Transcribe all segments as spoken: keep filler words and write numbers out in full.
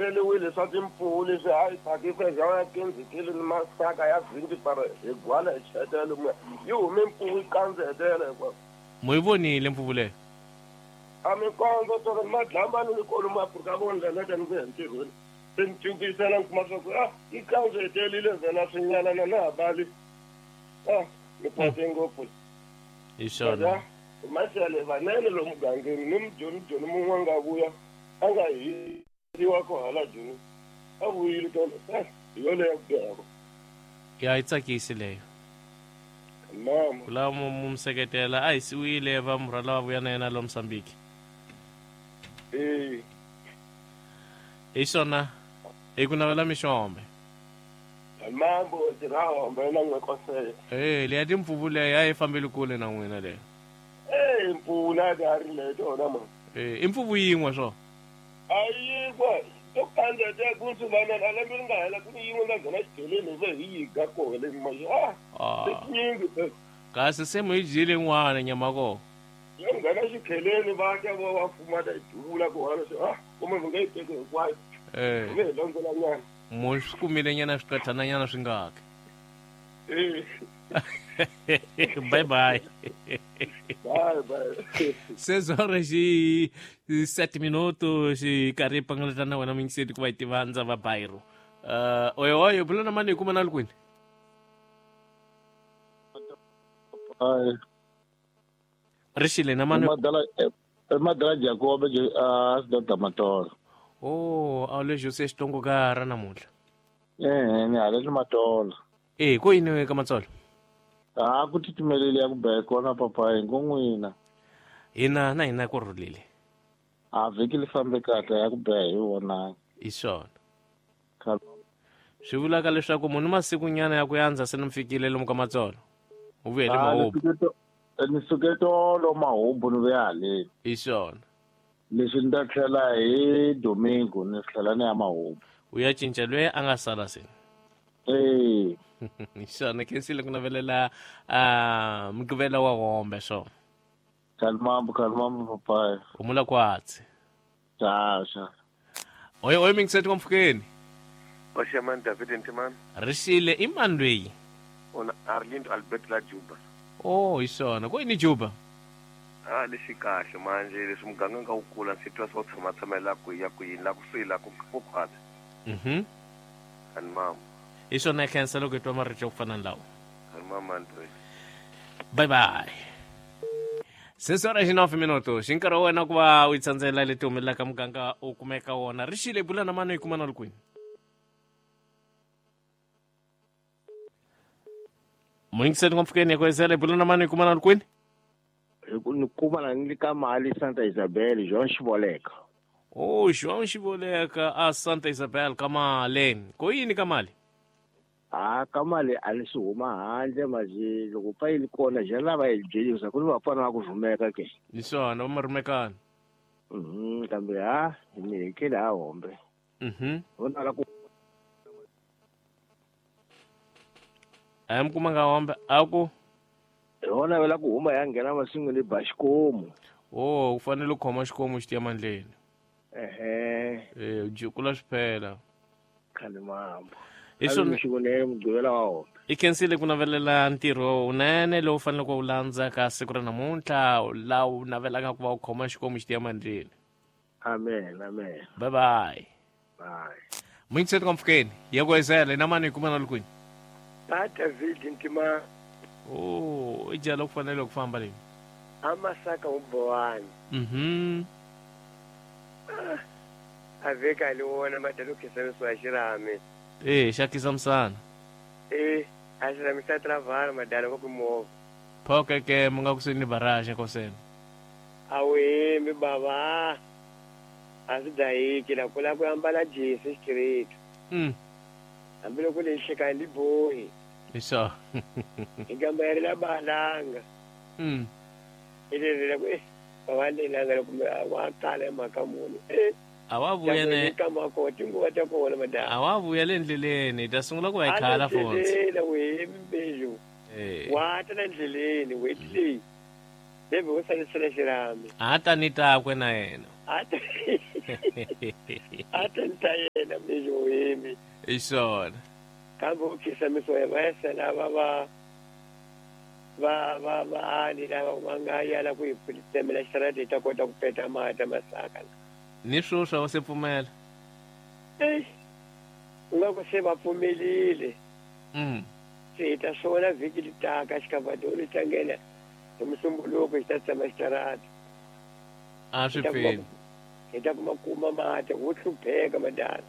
heleliwile swa timpfuvu leswi a yi phakisa ya kinzikile ni masaka ya vhindi para hi gwala hi chetela lomuya yi hume mpfuvu yi kandzetela hinkwako. Mo yi vonile mpfuvu leyo? A mi kondza tolo madlambani ni kolomu Afrika vondlela ni vuya ntirhweni se ni tivisela ni kuma swa ku ah yi kandzetelile vhela swinyalana na ha bali ah ni kwate ngopfu. Hi swona masele vanene lomu mugangeni ni mujoni joni mun'we a nga vuya a nga hisiwa ko hala joni a vuyile tolo hi yoleyo ku bihako. Ya yi tsakisi leyo. Mama ku lava mu seketela a hisiwile va murhala va vuya na yena lo Mozambique. Eh hi swona hi ku navela mixombe. Mambo tirhahombe na n'we kosele. Eh leya timpfuvu leyo a yi fambeli kule na n'wina leyo. Eh mpfula ka ri leyo tona ma. Eh i mpfuvu yin'we swo? A yin'we to kandzeta ku swi vana a lembe ri nga hela ku ni yin'we nga nghena xidyeleni hi ve hi yi ga koho le ma ah tinyingi. Kasi se mu yi dyile yin'wana nyama koho? Ya nghena xikheleni va ka va va fuma ta yi duvula ku hala swi ah kumbe mi nga yi teki hinkwayo. Eh hi ve hi londzela nyana. Mo swi kumile nyana swiqathana nyana swi ngaki. Eh bye bye. Bye bye. Sezora xi sete minutos xi karhi pangalata na wena mingiseti ku va yi tiva ndza va Bairo. Uh oyo oyo bula na mani hi kuma na le kwini? Ai. Rixile na mani. Madala madala Jacob a sida Matolo. Oh, a le Jose Xitongo ka ra namuntlha. Eh, ni hala le Matolo. Eh, ko yini ka Matsolo? A ku titimelele ya ku beka kona papa hi ngo n'wina. Hina na hina ku rhulile. A vhiki li fambe kahle ya ku beha hi wona. Hi swona. Swi vulaka leswaku munhu masiku nyana ya ku yandza se ni fikile lomu ka Matsolo. U vuye le Mahubu. Ni suke tolo Mahubu ni vuya haleni. Hi swona. Leswi ni ta tlhela hi Domingo ni tlhela ni ya Mahubu. U ya cinca loyi a nga sala se. Eh. Hi swona khensile ku navelela uh, mugqivela wa hombe swona. Kalmambo kalmambo papai. Humula kwatsi. Xa xa. Oyo oyo mingiseti kwa mpfukeni. Oshaman David Ntimani. Rixile i mani loyi? Ona Arlindo Albert la Juba. Oh, hi swona. Ko yini Juba? Ah lexi kahle manje leswi muganga nga wu kula ndzi twa swo tshama tshamela ku ya ku yini la ku swi la ku ku khwatsi. Mhm. Ani mama. Hi swona khensa loko hi twa marito ya ku fana na lawa. Ani mama Andre. Bye bye. Sesora xi nove minuto xi nkarhi wa wena ku va u yi tsandzela leti humelelaka muganga u kumeka wona. Rixile bula na mani hi kuma na le kwini? Muyingiseli ngopfukeni ku ezela bula na mani hi kuma na le kwini? Ni kuma na ni ka mali Santa Isabel João Xiboleka. Oh, João Xiboleka a Santa Isabel ka mali. Ko yini ka mali? Ah, ka mali a ni swi huma handle manje loko pa yi li kona ja lava yi byelisa ku ni vafana va ku rhumeka ke. Hi swona va rhumekana. Mhm, kambe ha ni hekele ha hombe. Mhm. Vona la ku A mi kuma nga hombe a ku hona vela ku huma ya nghena masin'wini ba xikomu. Oh, u fanele u khoma xikomu xi tiya mandleni. Ehe. Eh, jikula swi phela. Khale mambo. Hi swona xivonele mugqivela wa hombe. I khensile ku navelela ntirho wunene lowu faneleke u landza ka siku ra namuntlha laha u navelaka ku va u khoma xikomu xi tiya mandleni. Amen, amen. Bye bye. Bye. Muyingiseti ka mpfukeni ya ku ezela na mani hi kuma na le kwini? A David Ntima. Oh, i jala ku fanele ku famba leyi. A masaka u bowani. Mhm. A veka le wona madalo khisamisiwa xirhami. Eh, xa khisamsana. Eh, a xirhami xa travala madalo ku movha. Phoke ke mu nga kusuhi ni barrage koseni. A wu hembi bava. A swi dahiki la ku la ku ambala jesi xitireti. Mm. Hambiloko le nhlekani li bohi. Hi swona. Hi gamba ya ri la balanga. Mm. I leri la ku eh bava lelanga loko wa kala hi mhaka muni. Eh. A wa vuya ne kama ko tinguva ta kona madala. A wa vuya le ndleleni hi ta sungula ku va hi khala fonse. La we mbejo. Eh. Wa ta la ndleleni wait leyi. Leve u salisela xirhami. A ta ni takwe na yena. A ta. A ta ni ta yena. mijohimi hi swona kambe u khisamisiwa hi vaesa lava va va va vaani lava va nga yala ku hi tsemela xitarata hi ta kota ku peta mati masaka ni sweswi a va se pfumela eyi u nga ku se va pfumelile mm. se hi ta swona vhiki li taka xikavadolo xi ta nghena hi musumbuluko xi ta tsema xitarata a swi pfini hi ta kuma kuma mati wo hlupheka madala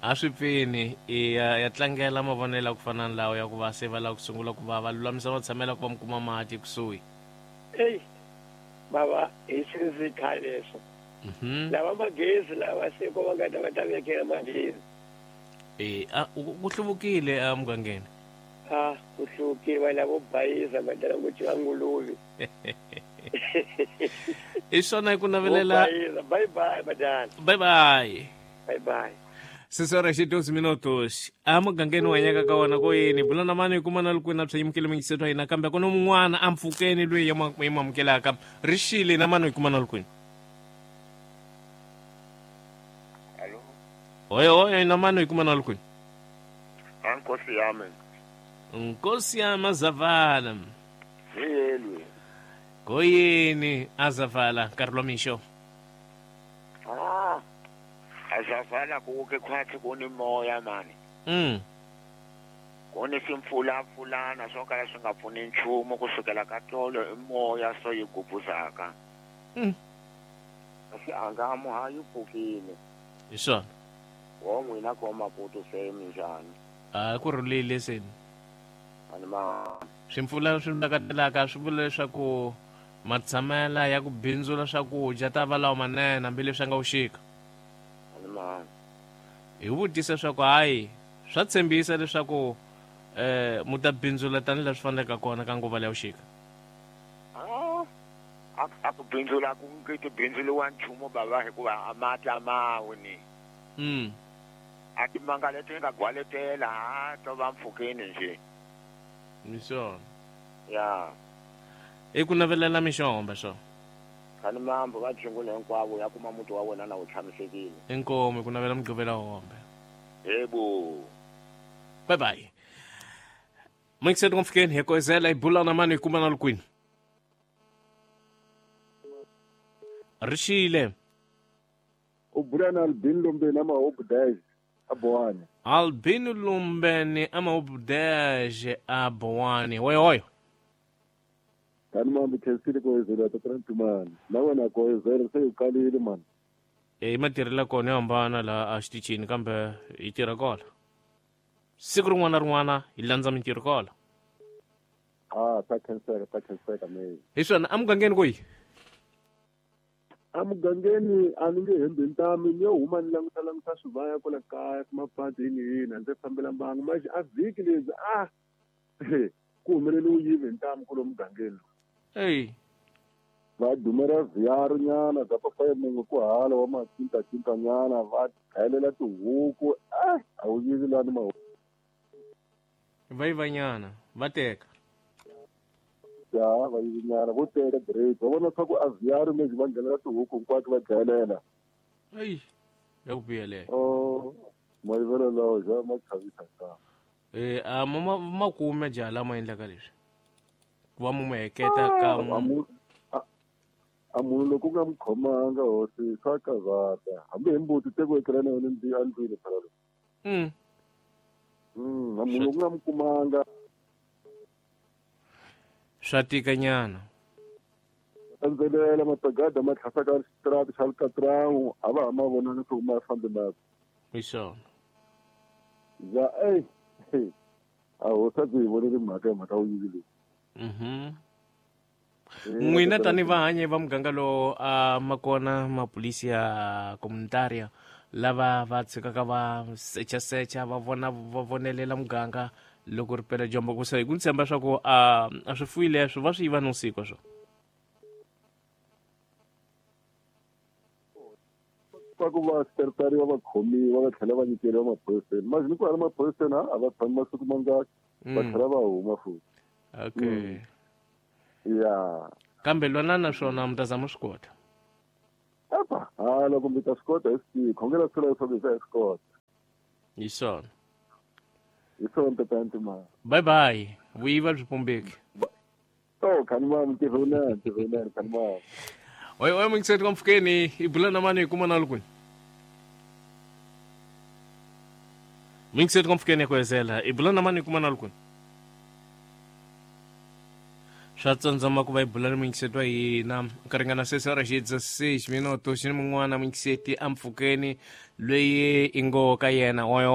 a swi pfini i ya, ya tlangela mavonelo ya ku fana na lawa ya ku va se va lava ku sungula ku va va lulamisa matshamelo ya ku va mi kuma mati kusuhi eyi bava hi sinzi khale leswo mhm lava magezi lava se ko va nga ta va ta vekela magezi e a ku hluvukile emugangeni a ku hluvukile va lavo bayiza madala ngo tiva nguluve hi swona hi ku navelela bye bye madala bye bye bye bye sisora xi doze minutos emugangeni wa hanyaka ka wona ko yini bula na mani hi kuma na loko na bya yimukele mingiseto ya hina kambe ku na mun'wana a mpfukeni loyi ya mu amukelaka ri xile na mani hi kuma na lukwini oyo oyo na mani hi kuma na lukwini nkosi yami nkosi yami azavala yelwe koyini azavala nkarhi lwa mixo ah azavala kuke khwathi kunimoya mani mm kunesimpfulampfulana swo kala swi nga pfuni nchumu kusukela ka tolo i moya so yi gubuzaka mm kasi angamu ha yi pfukile hi swona wo n'wina ko Maputo se minjhani a ku rhulile seni ani ma swimpfulana swi ndakatelaka swi vula leswaku matshamela ya ku bindzula swakudya ta va lawa manene hambileswi a nga vuxika ani ma hi vutisa leswaku hayi swa tshembisa leswaku eh mu ta bindzula tanihi swi faneleke kona ka nguva leya vuxika ah a ku bindzula ku nge ti bindzuliwa nchumu bava hikuva a mati a mawi ni mm a timanga leti nga gwaletela ha to va mpfhukeni nje ni swona ya i ku navelela mixomba swo khani mambo va jingule hinkwavo ya kuma muti wa wena na wu tshamisekile inkomu hi ku navela mugqivela hombe yebo bye bye mixed ngomfikeni hi koizela hi bula na mani hi kuma na lukwini rixile u bula na Albin Lumbeni amahobu dez a Boane Albin Lumbeni amahobu dez a Boane oyo oyo kani mambi khensile koizela tatana Ntumani na wena koizela se u kalile mani e matirhelo kona yo hambana laha a xitichini kambe hi tirha kona siku rin'wana na rin'wana hi landza mintirho kona ah ta khenseka ta khenseka me hi swona emugangeni koyi emugangeni a ni nge hembi ntami ni yo huma ni languta languta swivaya kwala kaya kumapati yini yini a ndzi fambela mbangu manje a vhiki lebyi a ku humelele u yive ntamu kulo mugangeni eyi va dumela vhiyaru nyana bya papaye mun'we ku hala wa macintacinta nyana va dlayelela tihuku a a wu yivi lani mahuku va yiva nyana va teka ya va yivi nyana vo teka great va vona swa ku a vhiyaru lexi va nghenela tihuku hinkwato va dlayelela eyi ya ku biha leyo o mayivelo lawo ja ma chavisa ntamu e a ma ma kume jaha lama endlaka leswi ku va mu mu heketa ka a munhu loko u nga mu khomanga hosi swa kavata hambi hi mbuti te ku etlela na yona endlwini phela loyi mm mm a munhu loko u nga mu kumanga swa tika nyana andzelela matagada ma tlhasaka xitarata xa Alcatraz a va ha ma vonanga swa ku ma fambi na hi swona ya ey a hosi a byi hi voneli mhaka hi mhaka wu yivi leyi mhm n'wina tani vahanyi va muganga lowu a ma kona mapolisi ya comunitaria lava va tshikaka va sechasecha va vona va vonelela muganga loko ri pela dyambu ku se hi ku ni tshemba swa ku a a swifuyi leswo va swi yiva nivusiku swo swa ku va stertariwa va khomiwa va tlhela va nyikeriwa maphoriseni manje ni ku hala maphoriseni a va tshami masiku mangaki va tlhela va huma futhi okay ya kambe lwana na swona mi ta zama swi kota apa ha loko mi ta swi kota hi swi tivi khongela swi leswaku hi ta hi swi kota Hi swona. Hi swona tatana Ntimani. Bye bye. Vuyiva byi pumbeki. Oh, khanimani ntirho wunene, ntirho wunene khanimani. Oi oi mingiseti ka mpfhukeni i bula na mani hi kuma na lukwini. Mingiseti ka mpfhukeni ya ku hezela i bula na mani hi kuma na lukwini. Swa tsandzama ku va hi bula ni mingiseti wa hina ku ringana sesi ra xidza six minuto xi ni mun'wana mingiseti a mpfhukeni loyi i ngo ka yena oyo.